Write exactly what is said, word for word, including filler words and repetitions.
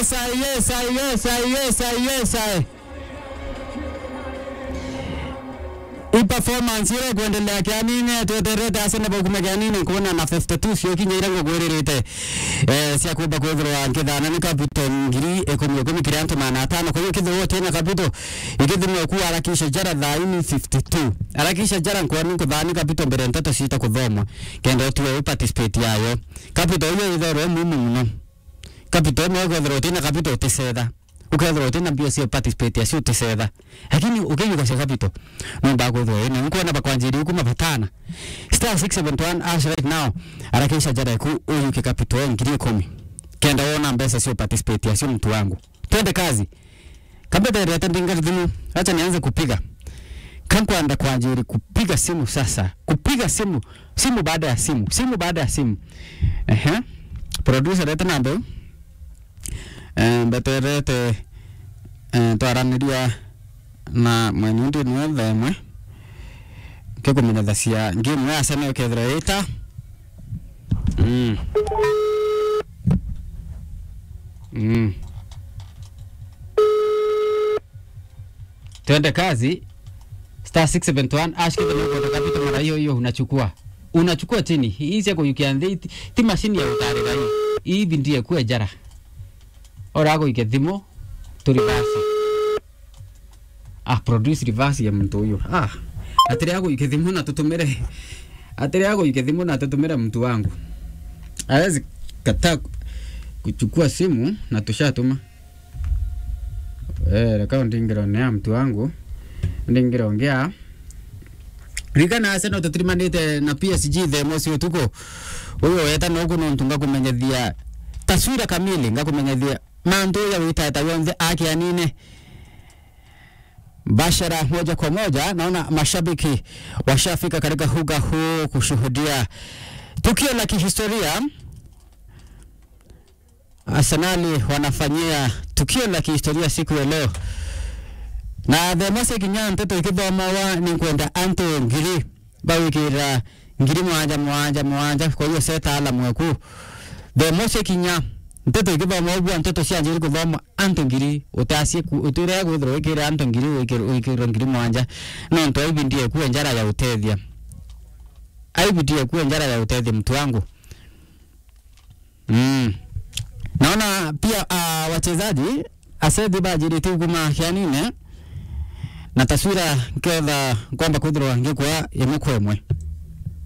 Yes, I, yes, I, yes, I, yes, I, yes, I. I performance ile kuendelea kianine, tweterete Arsenal baukume kianine, kuona na fifty-two cio kinya ira ngugwiririte, eh, cia kumba kwithirwa nkithana ni capital ngiri ikumi ikumi kiri antu magana atano. Kwa hiyo kithirwa utina capital, ikithimwa ku harakisha jara thaini fifty-two. Harakisha jara nkwani nkuthani capital mbere nteto ciita kuthomwa. Kenda utiwe u participate yayo. Capital iyo itherwe muhimu muno. Capital imwe ukethirwa utina capital utisetha. Ukethirwa utina mbia cia participate acio utisetha. Lakini ukiyuka cia capital, nomba kwithirwa wina. Nkwona bakwanjiri kuma batana. Star six seven one hash right now. Harakisha jara ku uyuke capital ngiri ikumi. Kenda wona mbeca cia participate acio mtu wangu. Twende kazi. Kambe nderete ndinga thimu. Acha nianze kupiga. Kankwanda kwanjiri kupiga simu sasa. Kupiga simu. Simu baada ya simu. Simu baada ya simu. Ehe. Producer, leta namba. Eh, mbeterete, eh, twaraniria na mweni ndi nwe themwe. Kikumenyethacia game ya Arsenal kethira ita. Mm. Mm. Twende kazi. Star six seven one hash, kethira ni ukwenda capital mara hiyo hiyo unachukua. Unachukua chini. Hii cia kuyukia nthi, ti, ti mashini ya utarira hii. Hii bindie kuwe jara. Ora aguike thimu, tu reverse. Ah, produce reverse ya mtu huyo. Ah, atiria aguike thimu na tutumire. Atiria aguike thimu na tutumire mtu wangu. Hawezi kataa ku-, kuchukua simu na tushatuma. Eh, reka ndingirone ya mtu wangu. Ndingirongea. Ririkana Arsenal tutirimanite na P S G thaa imosi utuku. Uyu weta noku nontu ngakumenyethia taswira kamili, ngakumenyethia mantu ya witata yonthe akianine. Bashara moja kwa moja, naona mashabiki washafika katika uga huu kushuhudia tukio la kihistoria. Arsenali wanafanyia tukio la kihistoria siku ya leo. Na the most kinya nteto ikithomawa ni nkwenda antu ngiri bawikira ngiri mwanja, mwanja, mwanja, kwa hiyo seta ala mweku. The most kinya nteto ikithomawa bwa nteto cianjiri kuthoma antu ngiri, utasie ku-, utire kwithirwa wikira antu ngiri wikir-, wikirwa ngiri mwanja. Nontu aibindie kuwe njara ya utethia. Aibindie kuwe njara ya utethia mtu wangu. Mm. Naona pia, ah, wachezaji asethi bajirite kuma kianine na taswira nketha kwamba kwithirwa ngikwa imwe kwa imwe.